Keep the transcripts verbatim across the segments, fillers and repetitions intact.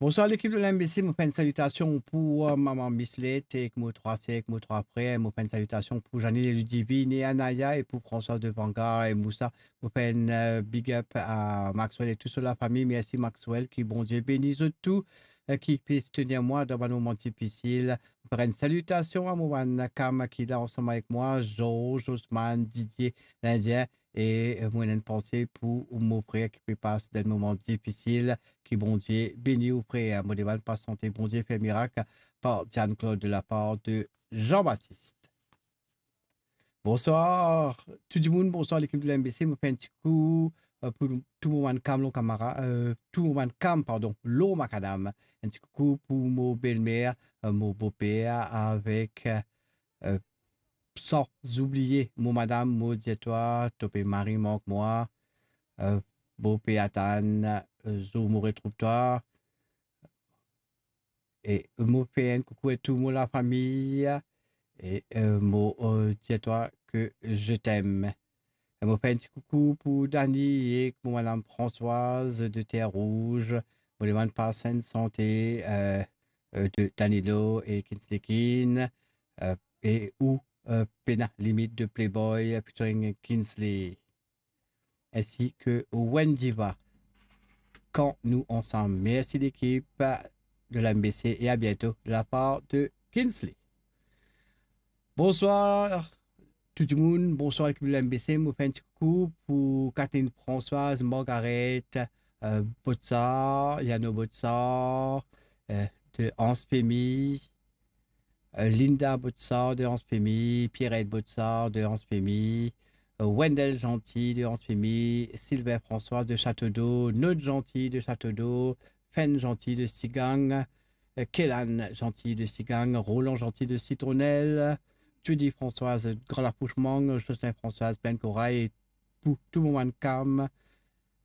Bonswar lekip de l'M B C, mo fer enn salitasion pou, euh, mama Mislet ek mo trwa ser ek mo trwa frer. Mo fer enn salitasion pou Janine e Ludivine e Anaya e pou Françoise de Vanga e Moussa. Mo fer enn, euh, big up a Maxwell e tou so lafami. Mersi Maxwell, ki Bondie beni zot tou, euh, ki pe soutenir mwa dan bann moman difisil. Mo fer enn salitasion a mo bann kam ki la ansam avek mwa, Georges, Osman, Didier, Lindien, e, euh, mo ena enn panse pou mo frer ki pe pas dan enn moman difisil. Ki Bondie beni ou frer. Mo demann pas sante Bondie fer mirak par Diane Claude de la part de Jean-Baptiste. Bonswar tou dimoun, bonswar lekip de l'M B C. Mo fer enn ti koukou, euh, pou tou mo bann kam lor kamara, euh, tou mo bann kam, pardon, lor makadam. Enn ti koukou pou mo belmer, euh, mo boper avek, euh, san oubliye mo madam. Mo dir twa, to pe mari mank mwa, euh, boper atann, euh, zour mo retrouv twa. E mo fer enn koukou a tou mo lafami, e, euh, mo, euh, dir twa ke je t'aime. E mo fer enn ti koukou pou Dani ek mo madam Françoise de Terre Rouge. Mo demann pas enn sante, euh, euh, de Danilo e Kinsley Keane, euh, e ou, euh, Pena Limit de Playboy featuring Kinsley, ensi ke Wendiva, Kan nou ansam. Mersi lekip de l'M B C e a biento de la part de Kinsley. Bonswar tou dimoun, bonswar lekip de l'M B C. Mo fer enn ti koukou pou Catherine Françoise, Margaret, euh, Botsar, Yano Botsar, euh, de Anse Pemi, euh, Linda Botsar de Anse Pemi, Pierrette Botsar de Anse Pemi, euh, Wendell Gentil de Anse Pemi, Sylvain Françoise de Château d'Eau, Nod Gentil de Château d'Eau, Fen Gentil de Sigang, euh, Kélan Gentil de Sigang, Roland Gentil de Citronnelle, Judy Françoise Grand Lapouche Mang, Jocelyn Françoise Plaine Corail, e pou tou mo bann kam,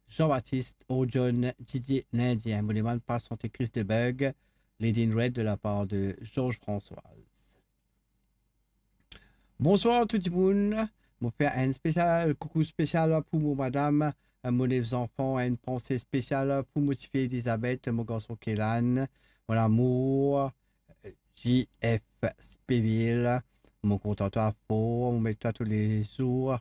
Jean-Baptiste, Orjon, Didier Lindien. Mo demann pas sante Chris de Bug, Lady in Red de la part de Georges Françoise. Bonswar tou dimoun. Mo fer enn spesial, koukou spesial pou mo madam, mo nef zanfan, enn panse spesial pou mo tifi Elizabeth, mo garson Kélan, mon amour, J F Speville. Mo kontan twa for, mo met twa toulezour.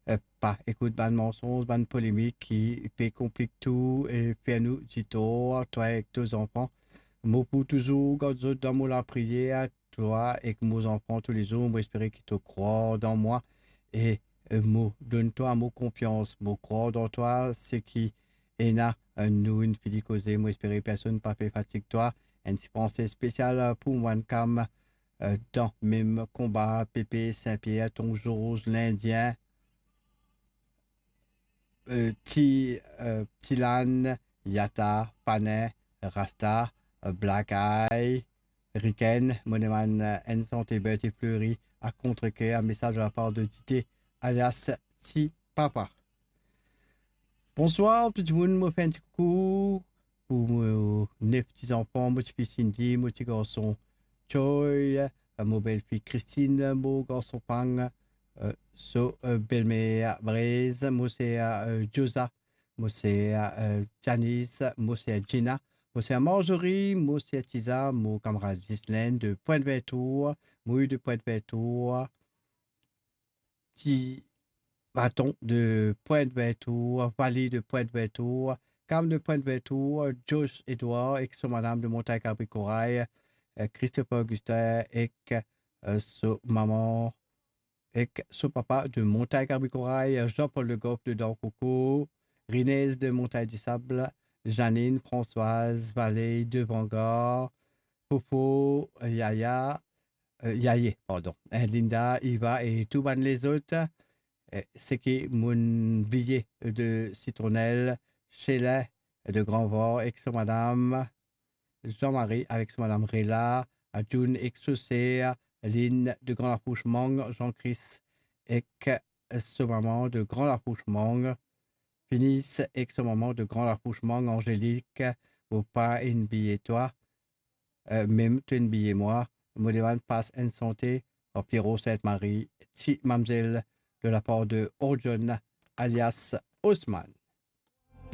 Eh, pa ekout bann mansonz, bann polemik ki pe konplik tou e fer nou ditor, twa ek to zanfan. Mo pou touzour gard zot dan mo lapriyer, twa ek mo zanfan toulezour. Mo espere ki to krwar dan mwa e, eh, mo donn twa mo konfians. Mo krwar dan twa, seki ena, eh, nou inn fini koze. Mo espere personn pa pe fatig twa. Enn ti panse spesial pou mo bann kam, eh, dan mem konba, Pepe, Sin-Pier, Ton Zoz, Lindien, eh, Ti, eh, Tilan, Yata, Panin, Rasta, eh, Black Eye, Riken. Mo demann, eh, enn sante Berthe Fleury, A contre-cœur, enn mesaz de la part de Dite, alias Ti Papa. Bonswar tou dimoun, mo fer enn ti koukou pou mo nef ti zanfan, mo tifi Cindy, mo ti garson Choi, eh, mo belfi Christine, mo garson Pang, eh, so, eh, belmer Brez, mo ser, eh, Josa, mo ser, eh, Janice, mo ser Gina, mo ser Marjorie, mo ser Tiza, mo kamarad Ghislaine de Pointe-Vertour, Mouy de Pointe-Vertour, Ti Baton de Pointe-Vertour, Vali de Pointe-Vertour, Kam de Pointe-Vertour, Josh Edouard ek so madam de Montagn Kabri Koray, eh, Christopher Augustin ek, eh, so mama ek so papa de Montagn Kabri Koray, Jean-Paul Le Goff de Dankoko, Rinez de Montagn du Sable, Janine, Françoise, Valey de Vangar, Popo, Yaya, eh, Yaye, pardon, eh, Linda, Iva e tou bann lezot, eh, seki mo'nn bliye de Citronnelle, Sheila de Grand Var ek so madam, Jean-Marie avek so madam Rela, Adjoun ek so ser, Lynn de Grand Lapouche Mang, Jean-Chris ek so mama de Grand Lapouche Mang, Finis ek so mama de Grand Lapouche Mang, Angélique, mo pa inn bliye twa, eh, mem to inn bliye mwa. Mo demann pas enn sante par Pierrot Sainte-Marie, Ti Mamzel, de la part de Orjon alias Osman.